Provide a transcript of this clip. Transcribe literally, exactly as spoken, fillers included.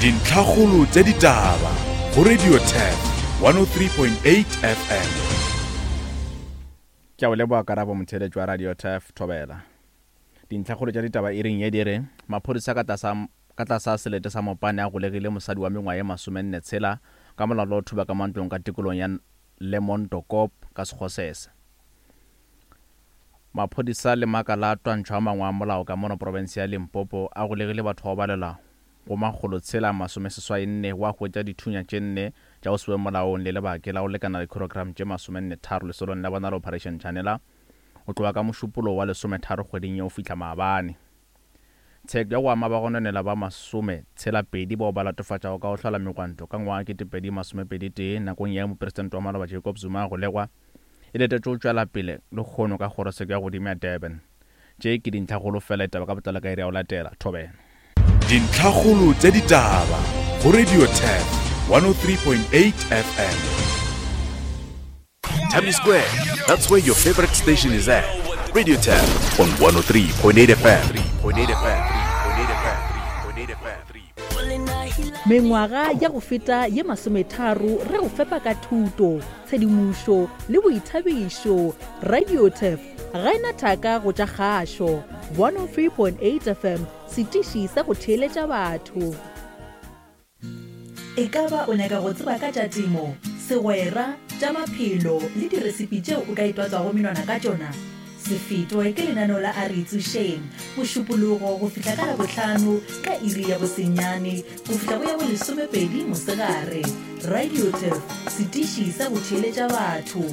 Dintlhakgolo tša ditaba go Radio Turf one oh three point eight F M. Ke a o leboga Karabo, motheeletši wa Radio Turf, thobela. Dintlhakgolo tša ditaba iring ye di re maphodisa ka tlasa ka tlasa selete sa Mopane a golegile mosadi wa mengwaga ye masomenne tshela ka molato wa go thuba ka mantlong ka tikolong ya Lemontokop ka Sekgosese. Maphodisa le makala a twantšho a mangwe a molao ka mono profense ya Limpopo a golegile batho ba go balelwa go makgolo tshela masomeseswai nne wa hwetša dithunya tše nne tša go se be molaong le lebake la go lekana dikilogram tše masomenne tharo lesolong la bona la Operation Shanela go tloga ka Mošupologo wa lesometharo kgweding ye go fihla maabane. Tsheko ya go ama bagononela ba masome tshela pedi bao ba latofatšago ka go hlola megwanto ka ngwaga ketepedi masomepedi tee nakong ya mopresidente wa maloba Jacob Zuma a golegwa e letetšwe go tšwela pele lehono ka kgorotsheko ya godimo ya Durban. Tše ke dintlhakgolo fela, ditaba ka botlalo ka iri ya go latela. Thobela. Dintlhakgolo tša ditaba go Radio Turf one oh three point eight F M. Tami Square, that's where your favorite station is at. Radio Turf on one oh three point eight F M. Mengwaga ya go feta ye masometharo re go fepa ka thuto, tshedimošo le boithabišo. Radio Turf ga e na thaka go tša kgašo. one oh three point eight F M, setiši sa go theeletša batho. E ka ba o nyaka go tseba ka tša temo, segwera, tša maphelo le diresipi tšeo o ka itwatswago menwana ka tšona? Se fetwe ke lenaneo la A Re Itsošeng, Mošupologo go fihla ka Labohlano ka iri ya bosenyane go fihla go ya bolesomepedi mosegare. Radio Turf, setiši sa go theeletša batho.